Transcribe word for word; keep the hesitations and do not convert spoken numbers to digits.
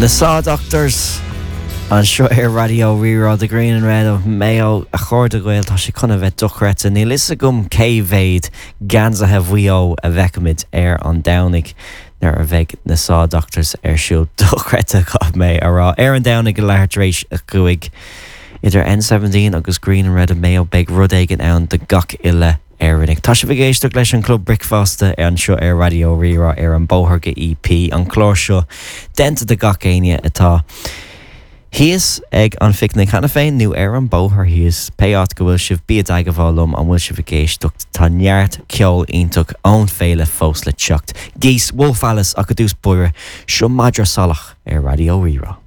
Na Saw Doctors anseo ar Raidió Rí-Rá The Green and Red of Mayo a chairde Gael tá sé chun a bheith dochreidte níl fhios agam cé mhéad geansaithe Mhaigh Eo a bhfeicfimid ar an Domhnach nuair a bheidh na Saw Doctors ar siúl dochreidte caithfidh mé a rá ar an Domhnach go leathuair tar éis a cúig idir N seventeen agus Green and Red of Mayo beidh rud éigin ann do gach uile Éireannach. Tá sibh ag éisteacht leis an Club Bricfeasta anseo ar Raidió Rí-Rá ar an bóthar go EP an clár seo déanta do gach éinne atá thíos ag an phicnic cheana féin nó ar an bóthar thíos pé áit go bhfuil sibh bí i dteagmháil liom an bhfuil sibh ag éisteacht tá neart ceol iontach ón féile fós le teacht. Geese Wolf Alice ach i dtús báire seo Madra Salach ar Raidió Rí-Rá.